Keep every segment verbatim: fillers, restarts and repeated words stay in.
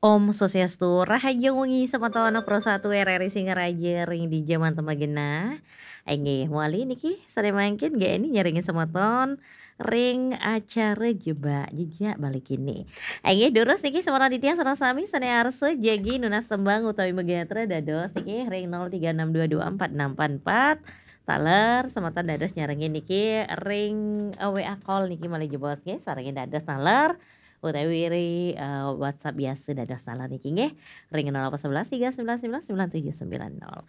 Om Swastiastu, rahajeng wengi semeton Pro Satu R R I Singaraja ring dija manten magenah. Inggih, mawali niki sane mangkin G N I nyarengin semeton ring acara Jebak Jejak Bali kini. Inggih, durus niki semeton titiang sareng sami sane arsa jagi nunas tembang utawi magatra dados niki ring nol tiga enam dua dua empat enam empat empat. Taler semeton dados nyarengin niki ring, eh, W A call niki malih jebos nggih, sarengin dados taler utawi ring, eh, WhatsApp biasa dados taler niki nggih. Ring nol delapan sebelas tiga sembilan sembilan sembilan tujuh sembilan nol.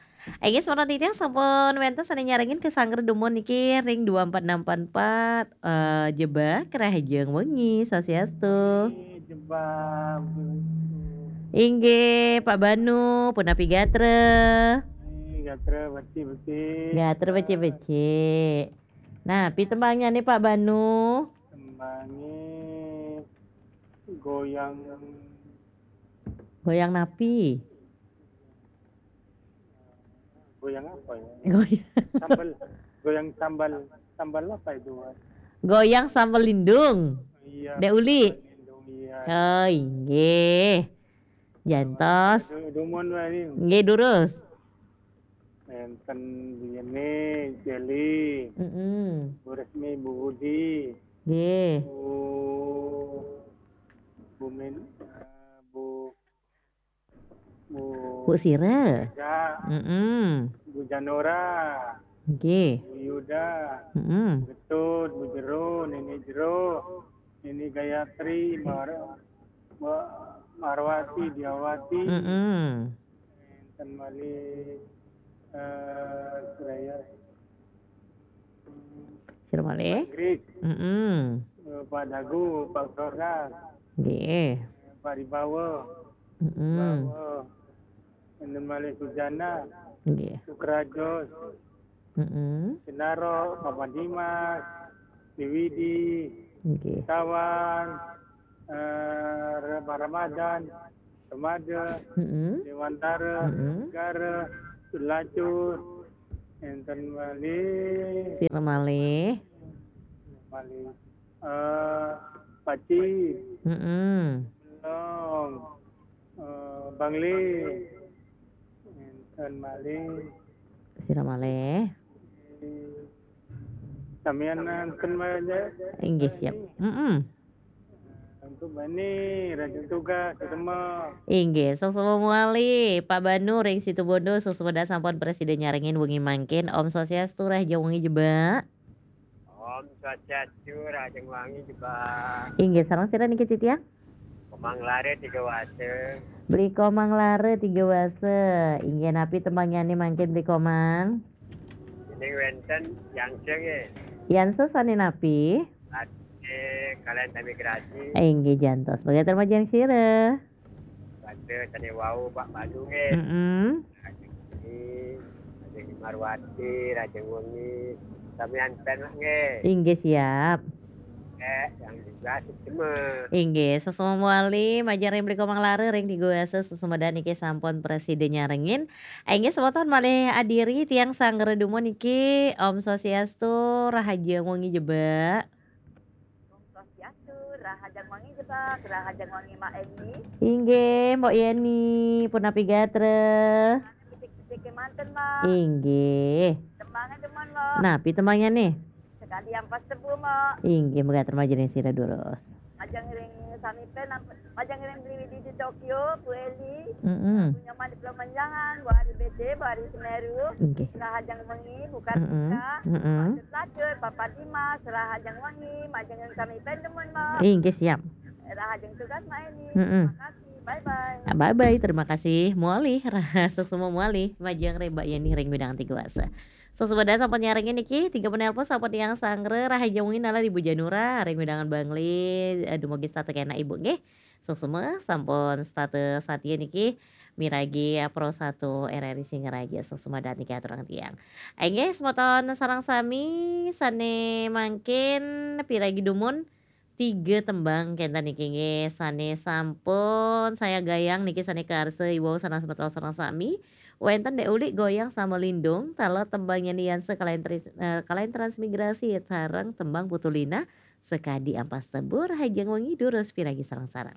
Inggih, semeton titiang sampun wenten sane nyarengin kasanggra dumun niki ring dua empat enam empat empat, eh, Jebak, rahajeng wengi, Swastiastu. Jebak, Swastiastu. Inggih, Pak Banu, punapi gatra? Inggih, gatra becik-becik. Gatra becik-becik. Nah, pi tembangnye nih, Pak Banu? Tembangnye goyang. Goyang napi? Goyang apa ya? Goyang. Sambal, goyang sambal, sambal apa itu, Mas? Goyang sambal lindung. Iya, Dek Uli. Sambal lindung, iya. Oh, inggih. Jantos. Du-, dumun wae nih. Nggih, durus. Enten biyene Jeli. Mm-mm. Bu Resmi, Bu Budi. Nggih. Bu, Bu Min-, eh, Bu, Bu Bu Sira. Ega. Mm-mm. Bu Janora. Nggih. Bu Yuda. Mm-mm. Bu Getut, Bu Jero, Nini Jero, Nini Gayatri, Mar-, Ma-, Marwati, Diawati. Mm-mm. Enten malih, eh, Suraya. Sira malih? Pak Grik. Mm-mm. Eh, Pak Dagu, Pak Sordas. Nggih. Pak Ribawa. Mm-mm. Bawa. Enten malih Sujana. Nggih. Sukrajos. Mm-mm. Sinaro, Papa Dimas, Diwidi, Nggih. Tawan, eh, Re-, Pak Ramadan, Remada, Mm-mm. Dewantara, Mm-mm. Negara, Sulacur, enten malih. Sira malih? Malih. Eh, Paci. Mm-mm. Belong. Eh, Bangli. Enten malih. Sira malih? Samian enten malih. Inggih, siap. Mm-mm. Untuk bani, rajin tugas, ketemu. Inggih, suksma malih, Pak Banu ring Situbondo, suksma sampun prasida nyarengin wengi mangkin. Om Swastiastu, rahajeng wengi Jebak. Om Swastiastu, rahajeng wengi Jebak. Inggih, sareng sira niki titiang? Komang Lare Tiga Wasa. Beli Komang Lare Tiga Wasa. Inggih, napi tembangnyane mangkin Beli Komang? Ning wenten Yangse nggih. Yangse sane napi? Ade kalian sami grasi. Inggih, jantos. Mangga termajan sira. Pada sane wau Pak Banu nggih. Mm-mm. Rajeng Budi, Rajeng Marwati, Rajeng Wengi, samian pen nggih. Inggih, siap. Eh, yang juga sukses. Inggih, suksma malih, majeng ring Beli Komang Lare ring Tiga Wasa, suksma niki sampun prasida nyarengin. Inggih, semeton malih adiri tiang sanggra dumun niki, Om Swastiastu, rahajeng wengi Jebak. Om Swastiastu, rahajeng wengi Jebak, rahajeng wengi Mbak Eni. Inggih, Mbok Yeni, punapi gatra? Becik-becik kemanten, Mbak. Inggih. Tembangnya demen, Mbak. Napi tembangnya nih? Sekadi ampas tebu, Mbak. Inggih, mega termajen sira durus. Majeng ring sami pen, majeng ring Beli Widi di Tokyo, Bu Eli, Mm-mm. Bu Nyoman di Pulau Menjangan, Bu Ari B C, Bu Ari Semeru, Inggih. Rahajeng wengi, bukan Mm-mm. buka, Mm-mm. Pak Latur, Papa Dimas, rahajeng wengi, majeng ring sami pen demen, Mbak. Inggih, siap. Rahajeng tugas, Mbak Eni. Mm-mm. Terima kasih, bye-bye. Ah, bye-bye, terima kasih. Muali, suksma muali, majeng ring Mbak Yeni ring Widang Tiga Wasa. Suksma sampun nyarengin niki, tiga penelpon sampun tiang sanggra, rahajeng wengi nala Ibu Janura, ring wewidangan Bangli, eh, dumugi setata kenak Ibu nggih. Suksma sampun setata satia niki, miragi, eh, Pro Satu R R I Singaraja, suksma niki aturang tiang. Inggih, semeton sareng sami, sane mangkin piragi dumun, tiga tembang kenten niki nggih, sane sampun saya gayang niki sane karsa iwau sareng semeton sareng sami. Wenten Dek Uli goyang sama Lindung, taler tembang Yeni Yanse kalayan tris-, eh, kalayan transmigrasi sareng tembang Putu Lina, Sekadi Ampas Tebu, rahajeng wengi durus piragi sareng-sareng.